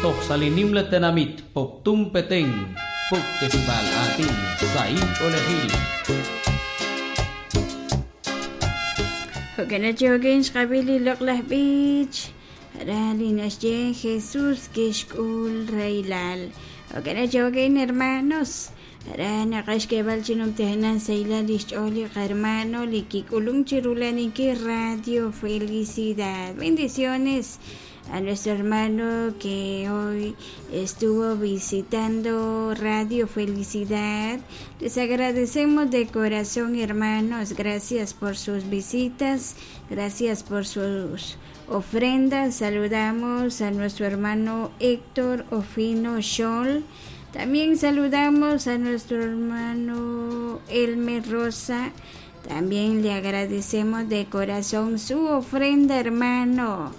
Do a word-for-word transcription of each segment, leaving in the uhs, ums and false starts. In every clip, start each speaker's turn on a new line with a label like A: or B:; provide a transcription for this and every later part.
A: Toj sa li nimla tenamit Poptún Petén, Puktesibal aatin sahil ch'oolejil.
B: Jo'kan chokin xqab'il li loq'laj b'ich ra li naxye Jesús kixk'ul rahilal. Jo'kan chokin hermanos, ra naqaxk'eeb'al chi numtajenaq sahilal lix ch'ool li qarhermano li kik'ulunk chi rulaninkil Radio Felicidad. Bendiciones a nuestro hermano que hoy estuvo visitando Radio Felicidad. Les agradecemos de corazón, hermanos. Gracias por sus visitas, gracias por sus ofrendas. Saludamos a nuestro hermano Héctor Ofino Scholl. También saludamos a nuestro hermano Elmer Rosa. También le agradecemos de corazón su ofrenda, hermano.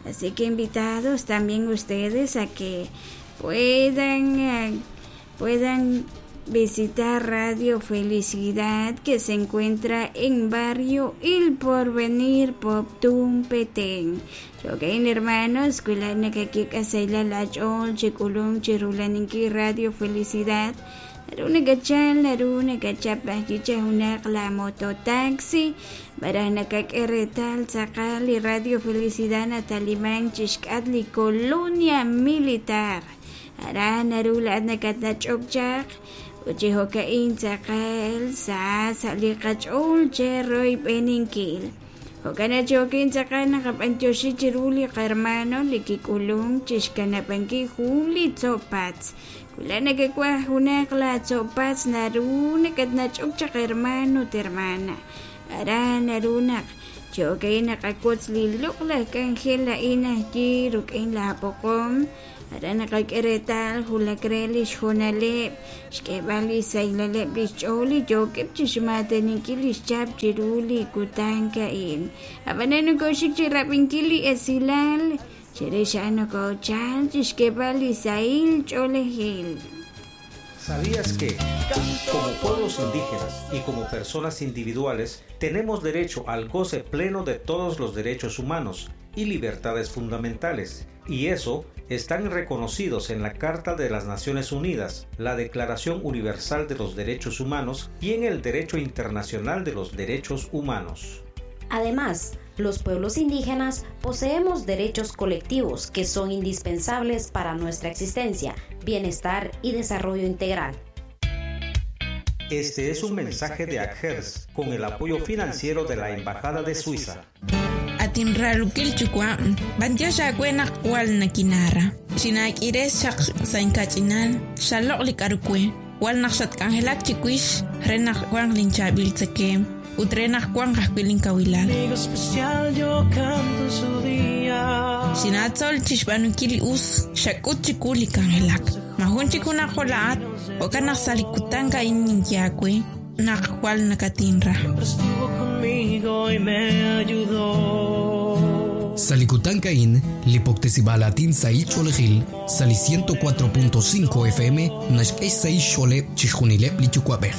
B: Así que invitados también ustedes a que puedan, eh, puedan visitar Radio Felicidad, que se encuentra en barrio El Porvenir, Poptún, Petén. Chokain hermanos, kulan nakakika sa ilalachol, chikulong, chirulaninki Radio Felicidad. Naru nakachal, naru nakachap chicha hunak la mototaxi, para nakak'eretal tzaqal li Radio Felicidad natalimán chixk'at li Colonia Militar. Ara naru la'at nakatach'ok chaq, uchijokain tzaqal sa sa li qach'ool che roy b'eninkil. Jo'kan chokin tzaqal naqab'antioxi chiru li qarhermano li kik'ulunk chixkanab'anki jun li tzopatz. Kula nakak'uaj junaq la tzopatz naru nakatnach'ok chaq hermano ut hermana. Ara naru naq chokay naqakutz li loq'laj k'anjel a'in ajyi ruk'in la poqom. Ara naqak'eretal julak re lix jonaleb' xk'eeb'al li saylaleb' lix ch'ool li yookeb' chixmaateninkil lix chap chiru li kutan ka'in. Ab'anan nokoxik chirab'inkil li esilal chirix a'an nokochal chixk'eeb'al li sahil ch'oolejil.
C: ¿Sabías que, como pueblos indígenas y como personas individuales, tenemos derecho al goce pleno de todos los derechos humanos y libertades fundamentales? Y eso están reconocidos en la Carta de las Naciones Unidas, la Declaración Universal de los Derechos Humanos y en el Derecho Internacional de los Derechos Humanos.
D: Además, los pueblos indígenas poseemos derechos colectivos que son indispensables para nuestra existencia, bienestar y desarrollo integral.
C: Este es un mensaje de ACGERS con el apoyo financiero de la Embajada de Suiza.
E: Atinralukil chukwa, bantiox awe naq wal nakinara. Xinak'ires xaq sa inkach'inal, xaloq' li k'aru we, wal naq xatk'anjelak chiwix re naq wanq linchaab'il tzakeem, ut re naq wanq ajwi' linkawilal.
F: Amigo especial, yo canto en su día.
E: Xinatzol chixb'aanunkil li us, xak'ut chiwu li k'anjelak. Majun chik junaq jo' la'at, jo'kan naq sa' li kutan a'in ninye aawe naq jwal nakatinra.
F: Siempre estuvo conmigo y me ayudó.
G: Salikutan Kain, Lipoktesibalatin Sai Cholejil, Sali ciento cuatro punto cinco F M, Nashkei Sai Chole, Chishunilep Lichucuabej.